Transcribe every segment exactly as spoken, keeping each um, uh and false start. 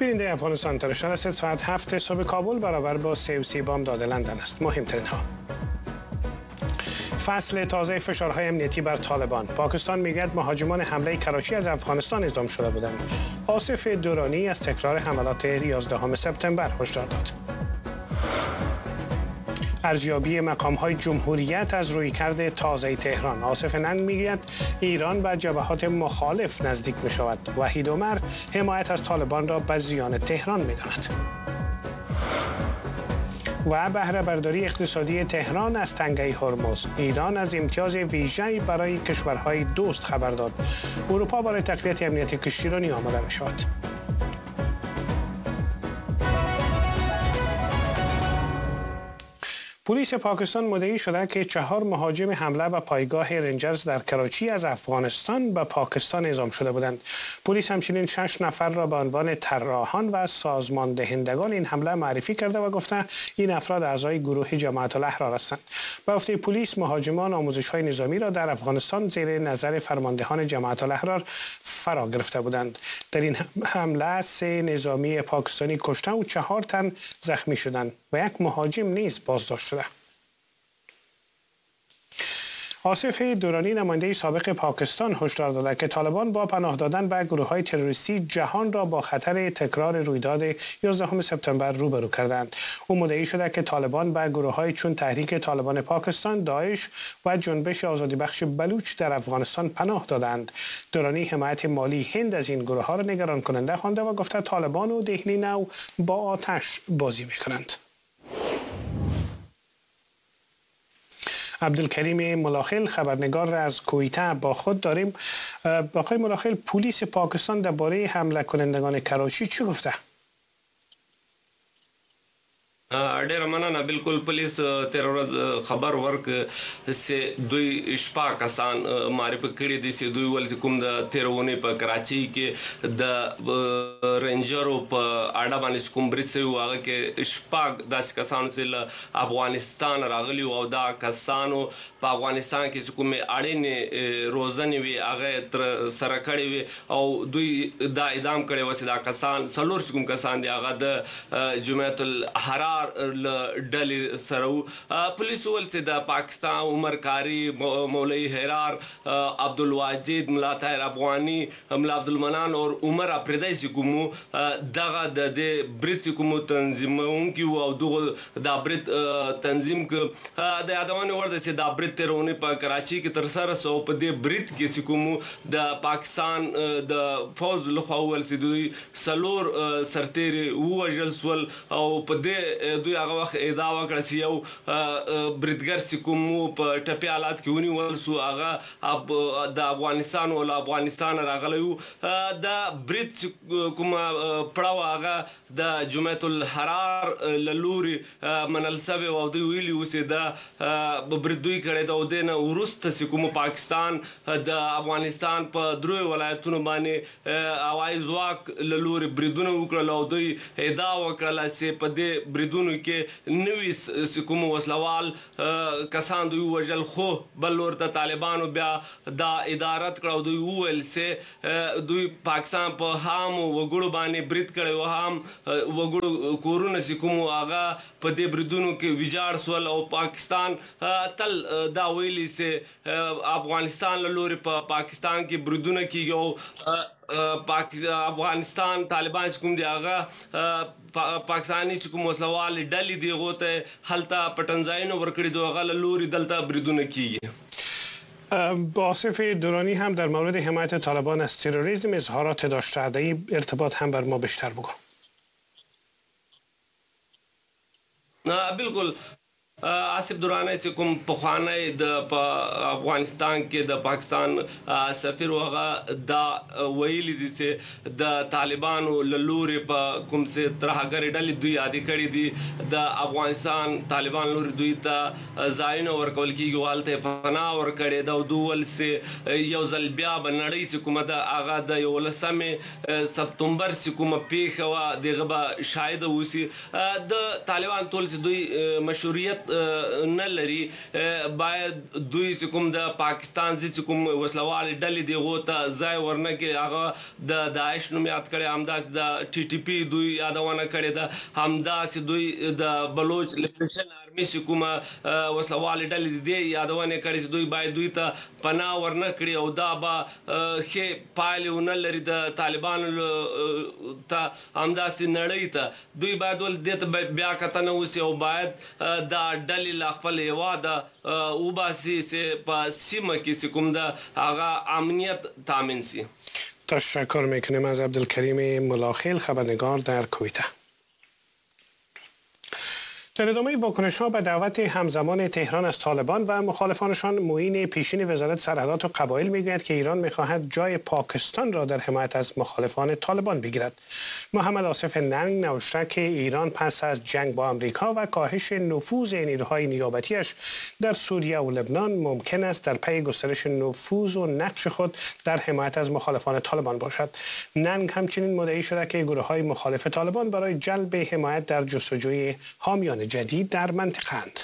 بیننده افغانستان اینترنشنال است. ساعت هفت صبح کابل برابر با سه و سی بامداد لندن است. مهمترین ها: فصل تازه فشارهای امنیتی بر طالبان. پاکستان میگوید مهاجمان حمله کراچی از افغانستان اعزام شده بودند. آصف دورانی از تکرار حملات یازدهم سپتامبر هشدار داد. ارزیابی مقام‌های جمهوریت از رویکرد تازه تهران. آصف ننگ میگوید ایران به جبهات مخالف نزدیک میشود. وحید عمر حمایت از طالبان را به زیان تهران میداند. و بهره برداری اقتصادی تهران از تنگه هرمز. ایران از امتیاز ویژه‌ای برای کشورهای دوست خبر داد. اروپا برای تقویت امنیت کشتیرانی آماده می شود. پلیس پاکستان مدعی شده که چهار مهاجم حمله به پایگاه رنجرز در کراچی از افغانستان به پاکستان اعزام شده بودند. پلیس همچنین شش نفر را به عنوان طراحان و سازمان دهندگان این حمله معرفی کرده و گفته این افراد اعضای گروه جماعت الاحرار هستند. به گفته پلیس مهاجمان آموزش‌های نظامی را در افغانستان زیر نظر فرماندهان جماعت الاحرار فرا گرفته بودند. در این حمله سه نظامی پاکستانی کشته و چهار تن زخمی شدند و یک مهاجم نیز بازداشت شده. آصف دورانی نماینده سابق پاکستان هشدار داده که طالبان با پناه دادن به گروه‌های تروریستی جهان را با خطر تکرار رویداد یازدهم سپتامبر روبرو کردند. او مدعی شده که طالبان به گروه‌های چون تحریک طالبان پاکستان، داعش و جنبش آزادی بخش بلوچ در افغانستان پناه دادند. دورانی حمایت مالی هند از این گروه‌ها را نگران کننده خوانده و گفته طالبان و دهلی نو با آتش بازی می‌کنند. عبدالکریم ملاخیل خبرنگار را از کویته با خود داریم. آقای ملاخیل، پلیس پاکستان درباره حمله کنندگان کراچی چی گفته؟ ډیره مننه. بالکل پولیس تېره ورځ خبر ورک چې دوی شپږ کسان معرفي کړي دي چې دوی ول چې کوم د تېرې اونۍ په کراچۍ کې د رینجرو په اډه باندې کوم برید شوی و، هغه کې شپږ داسې کسانو چې له افغانستان راغلي وو او دا کسانو په افغانستان کې چې کومې اړینې روزنې وې هغه یې ترسره کړې وې او دوی دا ادعا هم کړې وه چې دا کسان څلور چې کوم کسان دي هغه د جمعیت الحرار له ډلې سره وو. پولیس وویل چې د پاکستان عمر کاری، مولوي حرار، عبدالواجد، ملا طاهر افغاني، ملا عبدالمنان او عمر اپریدی چې کوم وو دغه د دې برید چې کوم تنظیموونکي وو او دغه دا برید تنظیم کړ. د یادونې وړ ده چې دا برید تېره اونۍ په کراچۍ کې ترسره سو او په دې برید کې چې کوم د پاکستان د پوځ لخوا وویل چې دوی څلور سرتېري ووژل سول او په دې دوی هغه وخت ادعا وکړه چې یو بریدګر چې کوم وو په ټپي حالت کې ونیول سو، هغه د افغانستان او له افغانستان راغلی وو. دا برید چې کومه پړه وه هغه د جمعیت الحرار له لوري منل سوې وه او دوی ویلي وو چې دا برید دوی کړی ده او دې نه وروسته چې کوم پاکستان د افغانستان په دریو ولایتونو باندې هوایي ځواک له لوري بریدونه وکړل او دوی ادعا وکړله چې په دې بریدونو کې نوي چې کوم وسلوال کسان دوی ووژل. خو بل لور ته طالبانو بیا دا ادعا رد کړه او دوی وویل چې دوی پاکستان په عامو وګړو باندې برید کړی او عام وګړو کورونه چې کوم هغه په دې بریدونو کې ویجاړ سول او پاکستان تل دا ویلي چې افغانستان له لوري په پاکستان کې بریدونه کیږي او افغانستان طالبان چې کوم دي هغه پاکستاني چې کوم وسلوالې ډلې دي هغو ته هلته پټنځایونه ورکړي دي هغه له لوري دلته بریدونه کیږي. آصف دورانی هم در مورد حمایت طالبان از تروریسم اظهارات داشته، در این ارتباط هم بر ما بیشتر بگو. بالکل آصف درانی چې کوم پخوانی د په افغانستان کې د پاکستان سفیر و هغه دا ویلي دي چې د طالبانو له لوري په کوم څه ترهګرې ډلې دوی یادې کړې دي د افغانستان طالبان لوري دوی ته ځایونه ورکول کېږي او هلته یې پناه ورکړې ده او دوی ویل چې یو ځل بیا به نړۍ چې کومه ده هغه د یولسمې سپتمبر چې کومه پېښه وه دغه به شاهده اوسي. د طالبان ټول چې دوی مشروعیت نه لري. باید دوی چې کوم د پاکستان چې کوم وسلوالې ډلې دی هغو ته ځای ورنه کړي. هغه د داعش نوم یاد کړی، همداسې د ټي ټي پي دوی یادونه کړې ده، همداسې دوی د بلوچ لبریشن آرمي چې کومه وسلوالې ډلې دي یادونه کړې چې دوی باید دوی ته پناه ورنه کړي او دا به ښې پایلې ونه لري د طالبانو ته، همداسې نړۍ ته. دوی باید ول دې ته بیا کتنه وسي او باید دا ډلې له خپل هېواده وباسي چې په سیمه کې چې کوم ده هغه امنیت تامین سي. تشکر میکنیم از عبدالکریم ملاخیل، خبرنگار در کویته. در ادامه واکنش‌ها به دعوت همزمان تهران از طالبان و مخالفانشان، معین پیشین وزارت سرحدات و قبایل میگوید که ایران میخواهد جای پاکستان را در حمایت از مخالفان طالبان بگیرد. محمد آصف ننگ نوشته که ایران پس از جنگ با آمریکا و کاهش نفوذ نیروهای نیابتیش در سوریه و لبنان ممکن است در پی گسترش نفوذ و نقش خود در حمایت از مخالفان طالبان باشد. ننگ همچنین مدعی شده که گروه‌های مخالف طالبان برای جلب حمایت در جستجوی حامیان جدید در منطقه اند.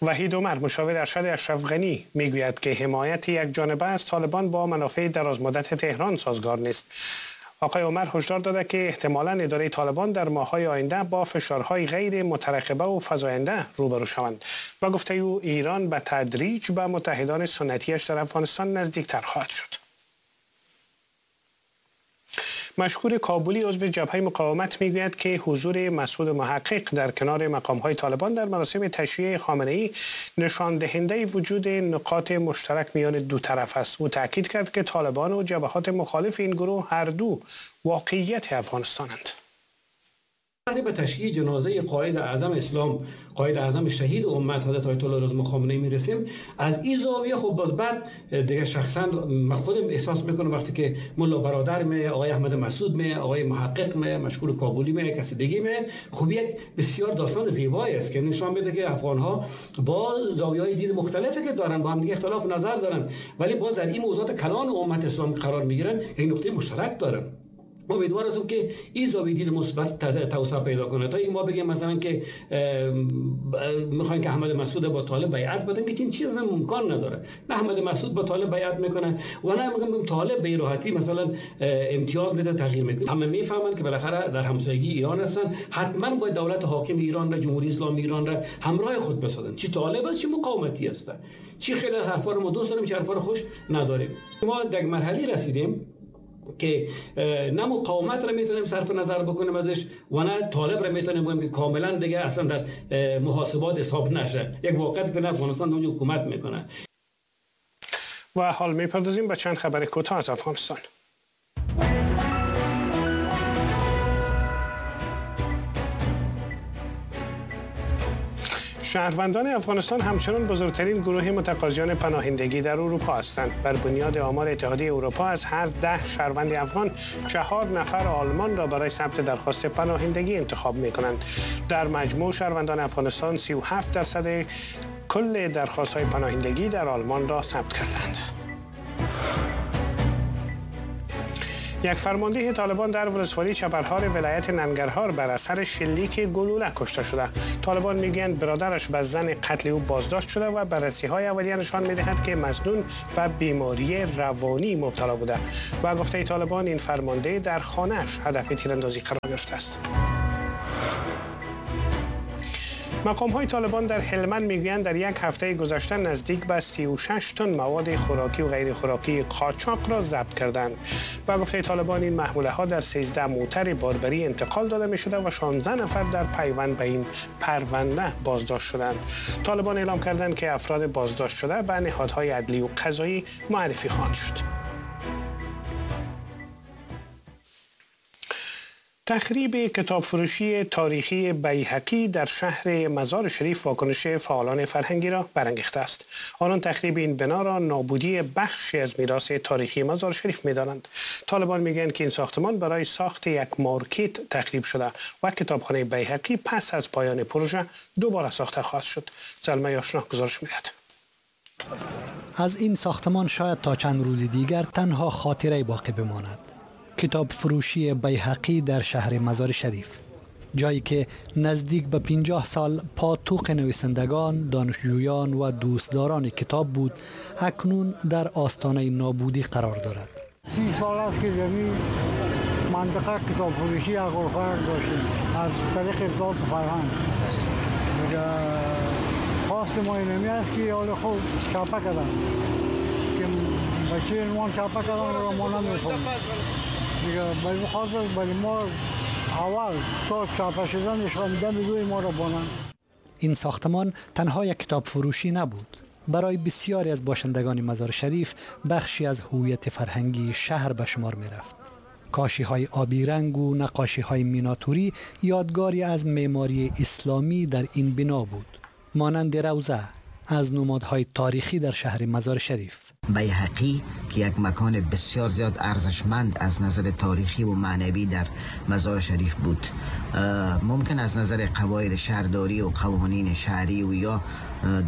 وحید عمر، مشاور ارشد اشرف غنی، میگوید که حمایت یک جانبه از طالبان با منافع درازمدت تهران سازگار نیست. آقای عمر هشدار داده که احتمالاً اداره طالبان در ماه‌های آینده با فشارهای غیر مترقبه و فزاینده روبرو شوند. و گفته او ایران به تدریج به متحدان سنتیش در افغانستان نزدیکتر خواهد شد. مشکور کابلی، عضو جبهه مقاومت، میگوید که حضور مسعود محقق در کنار مقام‌های طالبان در مراسم تشییع خامنه‌ای نشان دهنده وجود نقاط مشترک میان دو طرف است. او تاکید کرد که طالبان و جبهات مخالف این گروه هر دو واقعیت افغانستانند. به تشییع جنازه قائد اعظم اسلام، قائد اعظم شهید امت حضرت آیت الله العظمی خامنه‌ای میرسیم، از این زاویه خب باز بعد دیگه شخصا من خودم احساس میکنم وقتی که ملا برادر می، آقای احمد مسعود می، آقای محقق می، مشکور کابلی می، کسی دیگه می، خب یک بسیار داستان زیبایی است که نشان میده که افغان ها با زاویه‌های دید مختلفی که دارن با هم دیگه اختلاف نظر دارن، ولی باز در این موضوعات کلان امت اسلام قرار میگیرن، یک نقطه مشترک دارن. امیدوار هستم که این زاویه دید مثبت توسعه پیدا کنه تا اینکه ما بگیم مثلا که میخوایم که احمد مسعود با طالب بیعت بدن، که چنین چیزی امکان نداره. نه احمد مسعود با طالب بیعت میکنه و نه میگم طالب به راحتی مثلا امتیاز میده تغییر میکنه. همه میفهمن که بالاخره در همسایگی ایران هستن، حتما باید دولت حاکم ایران را، جمهوری اسلامی ایران را همراه خود بسازن، چی طالب است چی مقاومتی است، چی خیلی حرفا رو ما دوست داریم چی حرفا رو خوش نداریم. ما در مرحله رسیدیم که نه مقاومت را میتونیم صرف نظر بکنیم ازش و نه طالب را میتونیم بگیم که کاملا دیگه اصلا در محاسبات حساب نشه. یک واقعیت که افغانستان اونجا حکومت میکنه. و حال میپردازیم به چند خبر کوتاه از افغانستان. شهروندان افغانستان همچنان بزرگترین گروه متقاضیان پناهندگی در اروپا هستند. بر بنیاد آمار اتحادیه اروپا از هر ده شهروند افغان چهار نفر آلمان را برای ثبت درخواست پناهندگی انتخاب می‌کنند. در مجموع شهروندان افغانستان سی و هفت درصد کل درخواست‌های پناهندگی در آلمان را ثبت کردند. یک فرمانده طالبان در ولسوالی چپرهار ولایت ننگرهار بر اثر شلیک گلوله کشته شده. طالبان میگویند برادرش به زن قتل او بازداشت شده و بررسی‌های اولیه نشان می‌دهد که مظنون به بیماری روانی مبتلا بوده. با گفته طالبان این فرمانده در خانه‌اش هدف تیراندازی قرار گرفته است. مقام های طالبان در هلمند میگویند در یک هفته گذشته نزدیک به سی و شش تن مواد خوراکی و غیر خوراکی قاچاق را ضبط کردند. با گفته طالبان این محموله ها در سیزده موتر باربری انتقال داده می شده و شانزده نفر در پیوند به این پرونده بازداشت شدند. طالبان اعلام کردند که افراد بازداشت شده به نهادهای عدلی و قضایی معرفی خواهند شد. تخریب کتابفروشی تاریخی بیهقی در شهر مزار شریف واکنش فعالان فرهنگی را برانگیخته است. آنان تخریب این بنا را نابودی بخشی از میراث تاریخی مزار شریف می‌دانند. طالبان میگویند که این ساختمان برای ساخت یک مارکت تخریب شده و کتابخانه بیهقی پس از پایان پروژه دوباره ساخته خواهد شد. زلمی آشنا گزارش می‌دهد. از این ساختمان شاید تا چند روز دیگر تنها خاطره باقی بماند. کتاب فروشی بیهقی در شهر مزار شریف. جایی که نزدیک به پنجاه سال پاتوق نویسندگان، دانشجویان و دوستداران کتاب بود، اکنون در آستانه نابودی قرار دارد. سی سال است که زمین منطقه کتاب فروشی اقوافرگ داشتیم از طریق اطلاعات فرهنگ. خواست ما اینمی است که حال خوب چاپه کردن که بچه عنوان چاپه کردن را ما نمیفهمیم دیگه. به خاطر ولی ما اول تا چاپه شدنش فهمیدن روی ما را بانن. این ساختمان تنها یک کتاب فروشی نبود، برای بسیاری از باشندگان مزار شریف بخشی از هویت فرهنگی شهر به شمار می رفت. کاشی های آبی رنگ و نقاشی های میناتوری یادگاری از معماری اسلامی در این بنا بود، مانند روضه از نمادهای تاریخی در شهر مزار شریف. بیهقی که یک مکان بسیار زیاد ارزشمند از نظر تاریخی و معنوی در مزار شریف بود، ممکن از نظر قواعد شهرداری و قوانین شهری و یا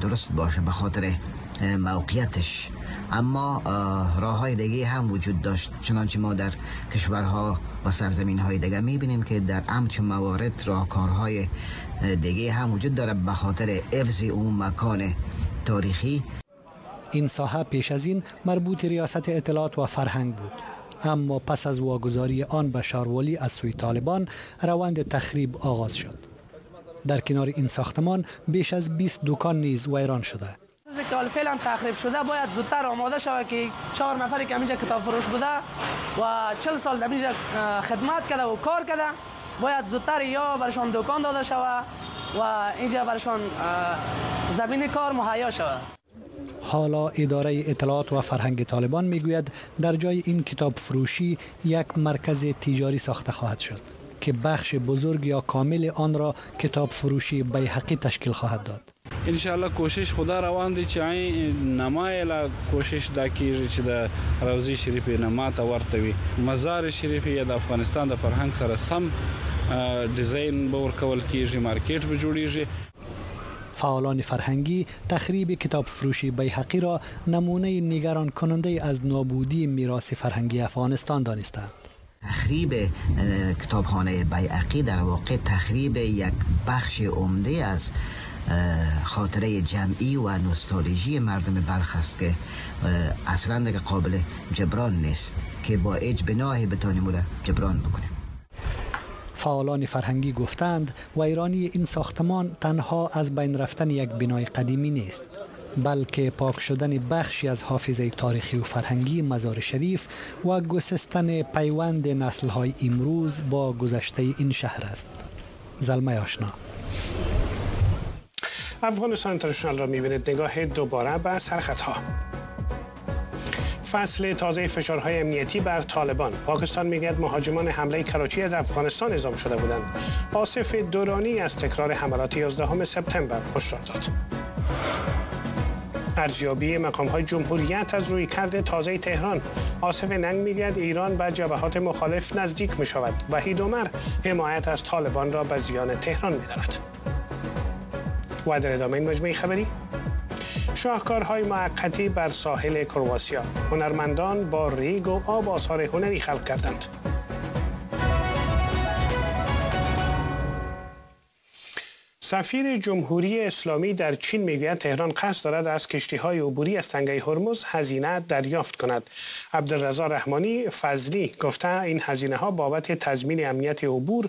درست باشه به خاطر موقعیتش، اما راه های دیگه هم وجود داشت. چنانچه ما در کشورها و سرزمین های دیگه میبینیم که در همچون موارد راهکارهای دیگه هم وجود داره به خاطر حفظ اون مکان تاریخی. این ساحه پیش از این مربوط ریاست اطلاعات و فرهنگ بود، اما پس از واگذاری آن به شاروالی از سوی طالبان روند تخریب آغاز شد. در کنار این ساختمان بیش از بیست دکان نیز ویران شده. که فعلا تخریب شده باید زودتر آماده شود که چهار نفری که اینجا کتاب فروش بوده و چهل سال در اینجا خدمت کرده و کار کرده باید زودتر یا برشان دکان داده شود و اینجا برشان زمین کار مهیا شود. حالا اداره اطلاعات و فرهنگ طالبان میگوید در جای این کتاب فروشی یک مرکز تجاری ساخته خواهد شد که بخش بزرگ یا کامل آن را کتاب فروشی بیهقی تشکیل خواهد داد. ان شاء الله کوشش خدا روان دی چې نما لا کوشش دا کیږي چې د روضې شریفې نما ته ورته وي. مزار شریف یا د افغانستان د فرهنګ سره سم ډیزاین به ورکول کیږي، مارکیټ به جوړیږي. فعالان فرهنگی تخریب کتاب فروشی بیهقی را نمونه نگران کننده از نابودی میراث فرهنگی افغانستان دانستند. تخریب کتابخانه بیهقی در واقع تخریب یک بخش عمده از خاطره جمعی و نوستالژی مردم بلخ است که اصلا دیگه قابل جبران نیست که با هیچ بناهی بتانیم او را جبران بکنیم. فعالان فرهنگی گفتند ویرانی این ساختمان تنها از بین رفتن یک بنای قدیمی نیست، بلکه پاک شدن بخشی از حافظه تاریخی و فرهنگی مزار شریف و گسستن پیوند نسل‌های امروز با گذشته این شهر است. زلمه آشنا. افغانستان اینترنشنال را می‌بینید. نگاه دوباره به سرخطها. فصل تازه فشارهای امنیتی بر طالبان. پاکستان میگوید مهاجمان حمله کراچی از افغانستان اعزام شده بودند. آصف دورانی از تکرار حملات یازدهم سپتامبر هشدار داد. ارزیابی مقام‌های جمهوریت از رویکرد تازه تهران. آصف ننگ میگوید ایران به جبهات مخالف نزدیک می‌شود. وحید عمر حمایت از طالبان را به زیان تهران می‌داند. و در ادامه این مجموعه خبری، شاهکارهای موقتی بر ساحل کرواسیا. هنرمندان با ریگ و آب آثار هنری خلق کردند. سفیر جمهوری اسلامی در چین میگوید تهران قصد دارد از کشتی‌های عبوری از تنگه هرمز هزینه دریافت کند. عبدالرضا رحمانی فضلی گفته این هزینه ها بابت تضمین امنیت عبور